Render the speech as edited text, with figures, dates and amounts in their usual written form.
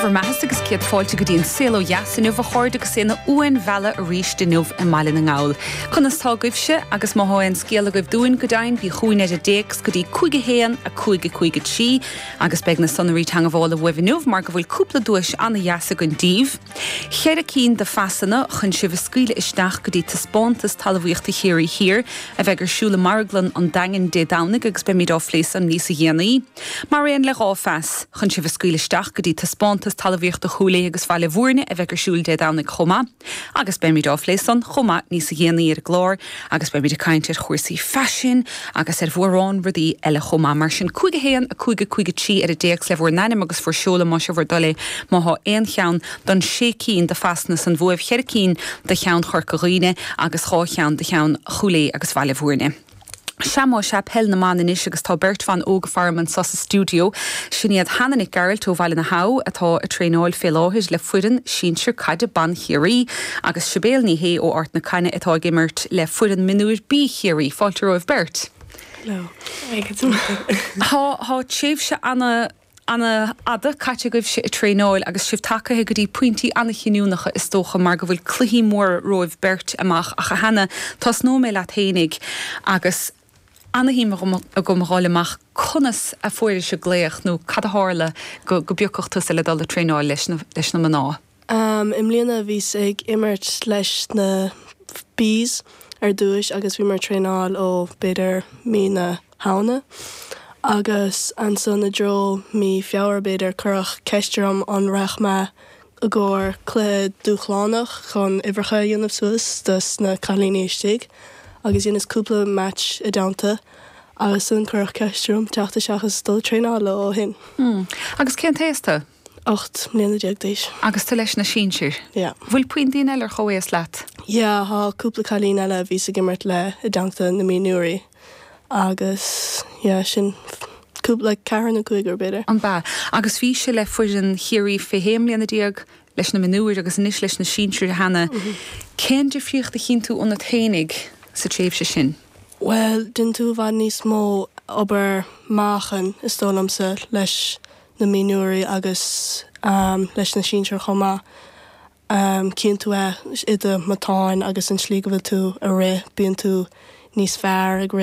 bhur mbeathasa agus céad fáilte go dtí an Saol Ó Dheas inniu a chairde agus é ina uainbhealach arís inniu i mBaile na nGall. Conas tá agaibhse agus má thá aon scéal agaibh dúinn go deimhin bí chugainn ar an dtéacs go dtí 5 1 5 5 3 agus beidh na sonraí teangabhála uaibh inniu mar go bhfuil cúpla duais ana-dheas againn daoibh. Cheithre cinn de phasanna chun sibh a scaoileadh isteach go dtí Taispeántas Talmhaíochta Chiarraí Thiar a bheidh ar siúl i Marglann an Daingin Dé Domhnaigh agus beimid á phlé san níosa dhéanaí. Mar aon le 2 phas chun sibh a scaoileadh isteach go dtí Taispeántas Talmhaíochta Chúil Aodha agus Bhaile Bhúirne a bheidh ar siúl Dé Domhnaigh chomh maith. Agus beimid á phlé san chomh maith níosa dhéanaí ar an gclár agus beimid ag caint ar chúrsaí faisin agus ar mhórán rudaí eile chomh maith. Mar sin, 5 1 5 5 3 ar an dtéacs le bhur n-ainm agus bhur seoladh más é bhur dtoil é má thá aon cheann don sé cinn de phasanna san uaibh, cheithre cinn de cheann Chorca Dhuibhne agus 2 cheann de cheann Chúil Aodha agus Bhaile Bhúirne. Sea más ea, peil na mban anois agus tá beirt bhan óga faram anso sa stiúideo. Sin iad Hannah Nic Gearailt ó Bhaile na hAbha atá ag traenáil fé láthair le foireann sinsir caide ban Chiarraí agus Sibéal Ní Shé ó Ard na Caithne atá ag imirt le foireann mionúir B Chiarraí. Fáilte romhaibh beirt. Hello. Tá tá tréimhse ana ana-fhada caite agaibhse ag traenáil agus sibh tagaithe go dtí pointí ana-chinniúnacha is dócha mar go bhfuil cluichí móra romhaibh beirt amach ach a Hannah, tosnóidh mé leat fhéinig agus ana-shuim agam a dh'fháil amach conas a fuairis an glaoch nó cad a tharla go go bpiocfadh tusa le dul ag traenáil leis na leis na mná? I mbliana bhíos ag imirt leis na Bs ar dtúis agus bhíomar ag traenáil ó b'fhéidir mí na Shamhna agus ansan i dtreo mí Feabhra b'fhéidir cuireadh ceist orm an raghadh mé i gcomhair cluiche dúshlánach chun uimhreacha a dhéanamh suas dos na cailíní istigh agus dheineas cúpla match i dteannta agus ansan cuireadh ceist orm teacht isteach is dul ag traenáil leo ó shin. Agus cén t-aos tú? 18 mbliana d'aois. Agus tú leis na sinsir? Yeah. Bhfuil puinn daoine eile ar chomhaos leat? Yeah, thá cúpla cailín eile a bhíos ag imirt le i dteannta na mionúirí agus yeah, sin cúpla, like ceathrar nó cúigear b'fhéidir. An b'ea? Agus bhís le foireann Chiarraí fé shé mbliana déag, leis na mionúir agus anois leis na sinsir, a Hannah. Cén difríocht a chíonn tú ionat fhéinig sa tréimhse sin? Bhuel, déanann tú i bhfad níos mó obair meáchain, is dóigh liomsa, leis na mionúirí agus leis na sinsir chomh maith. Cíonn tú é i do matáin agus an tslí go bhfuil tú ag rith, bíonn tú níos fearr ag rith.